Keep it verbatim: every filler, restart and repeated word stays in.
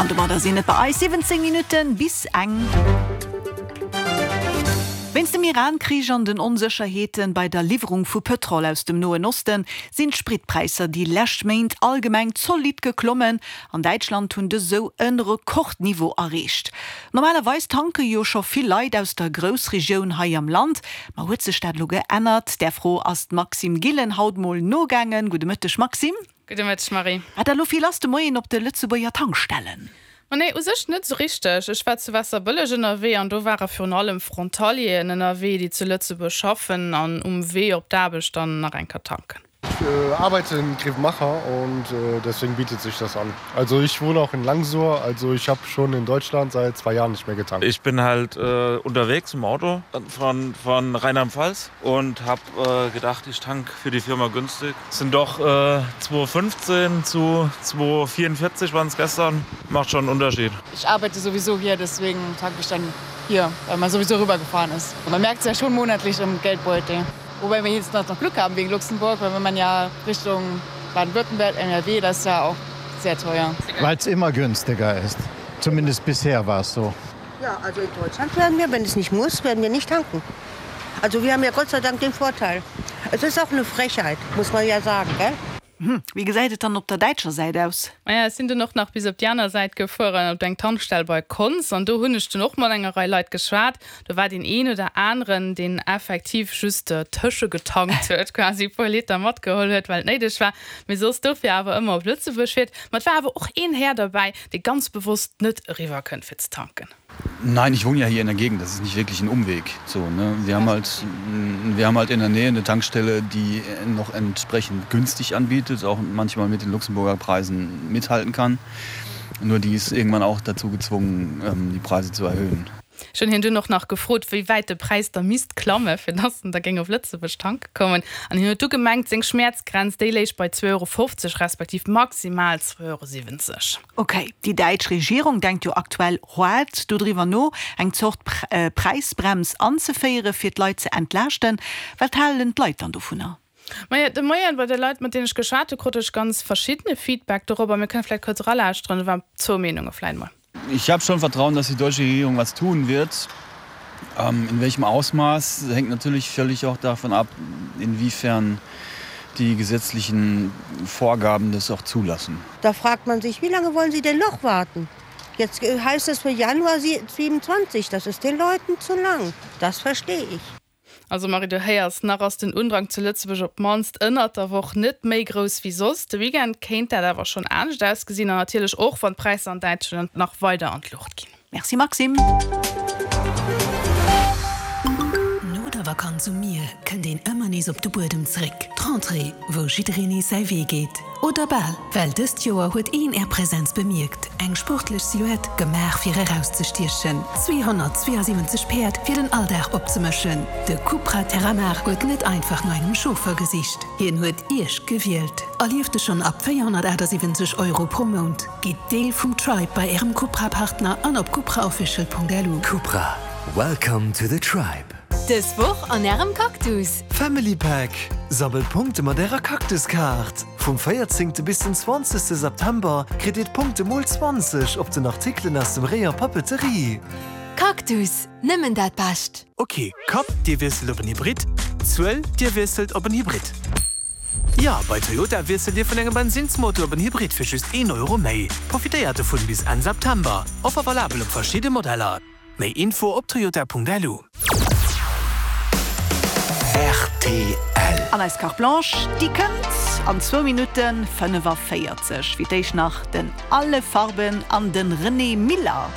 An domadder sinn et bei eis siwwenzéng Minutte bis eng. Wéinst dem Iran-Krich an den Onsécherheete bei der Liwwerung vu Pëtrol aus dem Noen Osten sinn d'Spritpräisser déi lescht Méint allgemeng zolidd geklommen. An Däitschland hunn dës esou e Rekordniveau erreecht. Normalerweis tanke jo scho vill Leit aus der Groussregioun hei am Land. Ma huet sech dat elo geännert? Där Fro ass d'Maxime Gillen haut mol nogaangen. Gudde Mëtteg Maxime. Gudde Mëtteg Marie. War da lo vill lass de Moien op de Lëtzebuerger Tankstellen? Ma nee, u sech net sou richteg. Ech war zu Waasserbëlleg ënnerwee an do ware virun allem Frontalieren ënnerwee, déi zu Lëtzebuerg schaffen an um Wee op d'Aarbecht dann nach eng Kéier tanken. Ich äh, arbeite in Grevenmacher und äh, deswegen bietet sich das an. Also ich wohne auch in Langsur, also ich habe schon in Deutschland seit zwei Jahren nicht mehr getankt. Ich bin halt äh, unterwegs im Auto von, von Rheinland-Pfalz und habe äh, gedacht, ich tank für die Firma günstig. Es sind doch äh, zwei fünfzehn zu zwei vierundvierzig waren es gestern. Macht schon einen Unterschied. Ich arbeite sowieso hier, deswegen tanke ich dann hier, weil man sowieso rübergefahren ist. Und man merkt es ja schon monatlich im Geldbeutel. Wobei wir jetzt noch Glück haben wegen Luxemburg, weil wenn man ja Richtung Baden-Württemberg, N R W, das ist ja auch sehr teuer. Weil es immer günstiger ist. Zumindest bisher war es so. Ja, also in Deutschland werden wir, wenn es nicht muss, werden wir nicht tanken. Also wir haben ja Gott sei Dank den Vorteil. Es ist auch eine Frechheit, muss man ja sagen, gell? Hm, wéi gesäit et dann op der däitscher Säit aus? Maja, ech sinn dunn och nach bis op déi aner Säit gefuer an op eng Tankstell bei Konz an do hunn ech dunn och mat enger Rei Leit geschwat. Do war deen een oder aneren, deen effektiv just tëschegetankt huet, quasi e puer Liter matgeholl huet, well et néideg war, mee soss dofir awer ëmmer op Lëtzebuerg fiert. Ma et war awer och een Här derbäi, dee ganz bewosst net eriwwer kënnt fir ze tanken. Nein, ich wohne ja hier in der Gegend, das ist nicht wirklich ein Umweg. So, ne? Wir haben halt, wir haben halt in der Nähe eine Tankstelle, die noch entsprechend günstig anbietet, auch manchmal mit den Luxemburger Preisen mithalten kann. Nur die ist irgendwann auch dazu gezwungen, ähm, die Preise zu erhöhen. Ech hunn hien dunn och nach gefrot, wéi wäit de Präis da misst klamme fir dass en da géing op Lëtzebuerg tanke kommen. An hien huet du gemengt, seng Schmäerzgrenz, déi léich bei zwee Euro fofzeg respektiv maximal zwee Euro siwwenzeg. Ok, déi däitsch Regierung denkt jo aktuell haart dodriwwer no, eng Zort Präisbrems anzeféiere fir d'Leit ze entlaaschten. Wat halen d'Leit dann dovunner? Maja, de Moien bei de Leit, mat deenen ech geschwat hu, krut ech ganz verschiddene Feedback dorobber. Mir kënne vläicht kuerz eralauschteren, do waren zwou Meenunge vläicht mol. Ich habe schon Vertrauen, dass die deutsche Regierung was tun wird. Ähm, in welchem Ausmaß hängt natürlich völlig auch davon ab, inwiefern die gesetzlichen Vorgaben das auch zulassen. Da fragt man sich, wie lange wollen Sie denn noch warten? Jetzt heißt es für Januar siebenundzwanzig, das ist den Leuten zu lang. Das verstehe ich. Also Marie, du héiers, nach ass den Undrang zu Lëtzebuerg op d'mannst ënnert der Woch net méi grouss wéi soss. De Weekend kéint dat awer schonn anescht ausgesinn an natierlech och, wann d'Präisser an Däitschland nach weider an d'Luucht ginn. Merci Maxime. No der Vakanz um Mier kënnt een ëmmer nees op de Buedem zréck. D'Rentrée, wou jiddereen nees säi Wee geet. Oder bal. Well dëst Joer huet een Är Presenz bemierkt. Eng sportlech Silhouette, gemaach fir erauszestiechen. zweehonnertzweeasiwwenzeg Päerd fir den Alldag opzemëschen. De Cupra Terramar huet net einfach no engem Chauffeur gesicht. Hien huet Iech gewielt. Erlieft e schonn ab véierhonnertachtasiwwenzeg Euro pro Mount. Gitt Deel vum Tribe bei Ärem Cupra-Partner an op cupraofficial.lu. Cupra, welcome to the tribe. Dës Woch an Ärem Cactus. Family Pack, Sammelt Punkte mat Ärer Cactus-Kaart! Vum véierzéngte bis den zwanzegste September kritt Dir d'Punkte mol zwanzeg op den Artikelen aus dem Rayon Papeterie. Cactus, nëmmen dat Bescht! Ok, Kapp, Dir wiesselt op en Hybrid. Zuel, Dir wiesselt op en Hybrid. Jo, bei Toyota wiesselt Dir vun engem Bensinnsmotor op en Hybrid fir just een Euro méi. Profitéiert dovun bis Enn September. Offer valabel op verschidde Modeller. Méi Info op toyota.lu. R T L. An eis Carte Blanche, déi kënnt an zwou Minutte fënnefaféierzeg. Fir d'éischt nach den Alle Farben an den René Miller.